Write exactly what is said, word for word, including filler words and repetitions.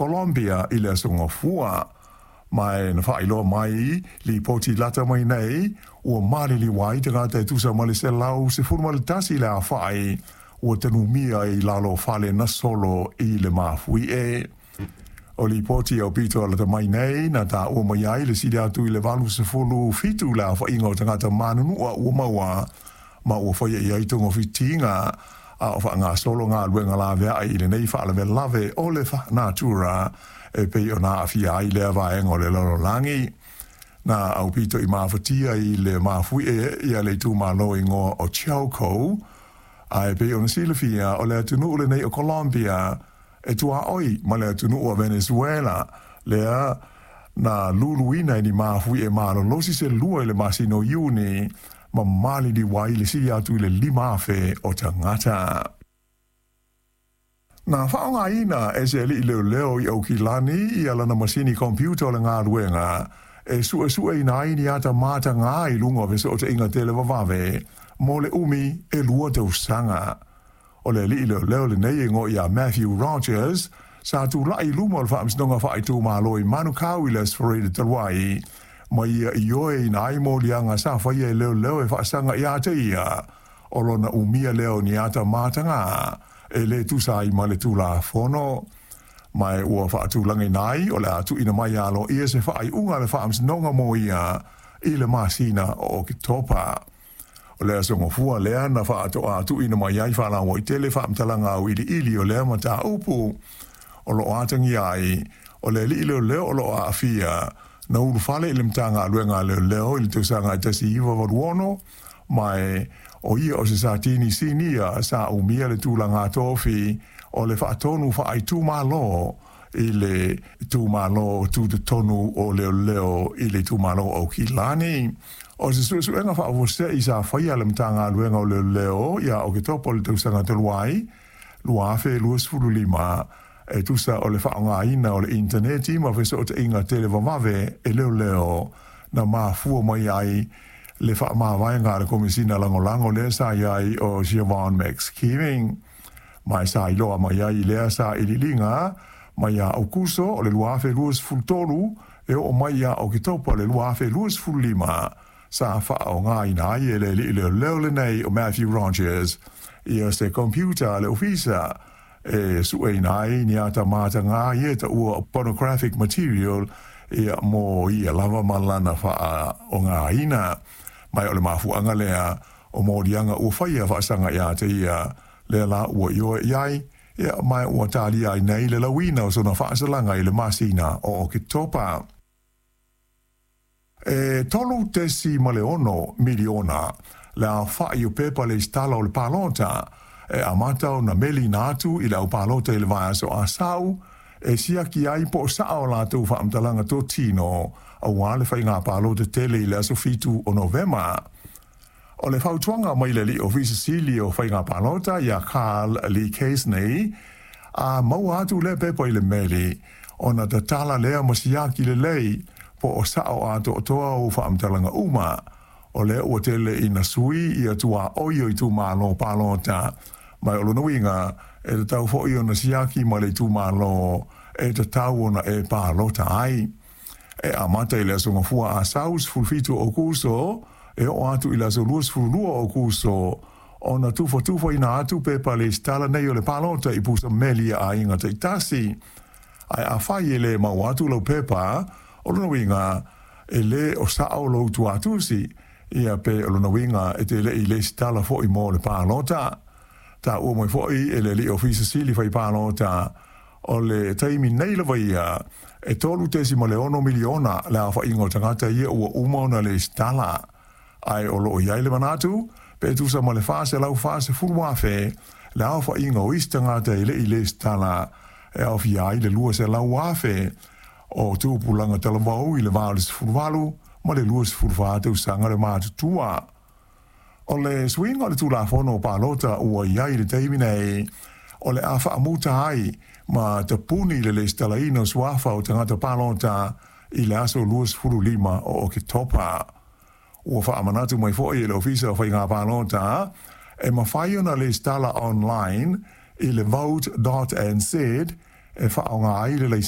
Colombia i le aso Gafua. Ma e na faailoa mai lipoti lata mai nei, ua maliliu ai tagata e tusa ma le selau sefulu ma le tasi le afa'i ua tanumia i lalo o fale na solo i le mafuie. O lipoti aupito lata mai nei na taua mai ai le sili atu i le valu sefulu fitu le afa'iga o tagata manunua ua maua ma ua faia i ai togafitiga a o faagasolo galuega laveai i lenei faalavelave o le natura e pei ona aafia ai lea vaega o le lalolagi. Na aupito i mafatia i le mafuie ia le itumalo igoa o Chocó, ae pei ona silafia o le atunuu lenei o Colombia e tuaoi ma le atunuu o Venezuela lea na luluina e ni mafuie malolosi se lua i le masina o Iuni ma maliliu ai le sili atu i le lima afe o tagata. Na faaaogaina e se alii leoleo i Aukilani ia lana masini computer o le galuega e suesueina ai ni ata matagā i luga o fesootaiga televavave mo le umi e lua tausaga. O le alii leoleo lenei e igoa ia Matthew Rogers sa tula'i i luma o le faamasinoga faaitumalo i Manukau i le Aso Faraile talu ai ma ia ioeina ai moliaga sa faia e leoleo e faasaga ia te ia o lona umia lea o ni ata matagā e lē tusa ai ma le Tulafono. Ma e ua faatulagaina ai o le a tuuina mai aloaia se faaiuga a le faamasinoga mo ia i le masina o Oketopa. O le aso Gafua lea na faatoa tuuina mai ai faalauaitele faamatalaga auiliili o lea mataupu o loo atagia ai o le alii leoleo o loo aafia na ulufale i le Matagaluega a Leoleo i le tausaga e tasi iva valu ono, ma e o ia o se Satini Sinia sa umia le tulaga tofi o le faatonu faaitumalo i le itumalo tutotonu o leoleo i le itumalo o Aukilani. O se suesuega faafuasei sa faia le Matagaluega o Leoleo ia Oketopa o le tausaga talu ai lua afe luasefulu lima e tusa o le faaaogaina o le initaneti ma fesootaiga televavave e leoleo na mafua mai ai le faamavaega a le Komesina Lagolago lea sa i ai o Siobhan McSkeeving. Ma e sa iloa mai ai i lea sailiiliga mai ia Aokuso o le lua afe luasefulu tolu e oo mai ia Oketopa o le lua afe luasefulu lima sa faaaogaina ai e le alii leoleo lenei o Matthew Rogers ia se computer a le ofisa e sueina ai ni ata matagā ia e taua pornographic material ia mo ia lava ma lana faaaogaina. Ma o le mafuaaga lea o moliaga ua faia faasaga ia te ia lea la ua ioe i ai ia ma ua talia ai nei le lauina o sona faasalaga i le masina o Oketopa. E tolu tesi ma le ono miliona le aofa'i o pepa lesitala o le palota e amata ona meliina atu i le aupalota i le vaiaso Asau e siaki ai po o sao a latou faamatalaga totino auā le faiga palota tele i le aso fitu o Novema. O le fautuaga mai le alii Ofisa Sili o Faiga Palota ia Carl Lee Casney, a maua atu lea pepa i le meli, ona tatala lea ma siaki lelei po o sao atoatoa ou faamatalaga uma. O lea ua tele ina sui ia tuaoi o itumalo palota, ma o lona uiga e tatau foi ona siaki ma le itumalo e tatau ona e palota ai. E amata i le aso Gafua Asau sefulu fitu o Aokuso e oo atu i le aso luasefulu lua o Aokuso ona tufatufaina atu pepa lesitala nei o le palota i pusa meli a aiga taitasi. Ae afai e le maua atu lau pepa, o lona uiga e lē o sao lou tuatusi ia pe o lona uiga e te le i lesitala foi mo le palota. Taua mai foi e le alii Ofisa Sili fai palota o le taimi nei lava ia e tolu tesi ma le ono miliona le aofaiga o tagata ia ua uma ona lesitala, ae o loo i ai le manatu pe tusa ma le fa selau fasefulu afe le aofaiga o isi tagata e le i lesitala e aofia ai le lua selau afe o tupulaga talavou i le va o le sefulu valu ma le luasefulu fa tausaga le matutua. O le suiga o le Tulafono o Palota ua i ai i le taimi nei, o le a faamuta ai ma tapuni le lesitalaina o suafa o tagata palota i le aso luasefulu lima o Oketopa. Ua faamanatu mai foi e le Ofisa o Faiga Palota e mafai ona lesitala online i le vote dot n z e faaaoga ai le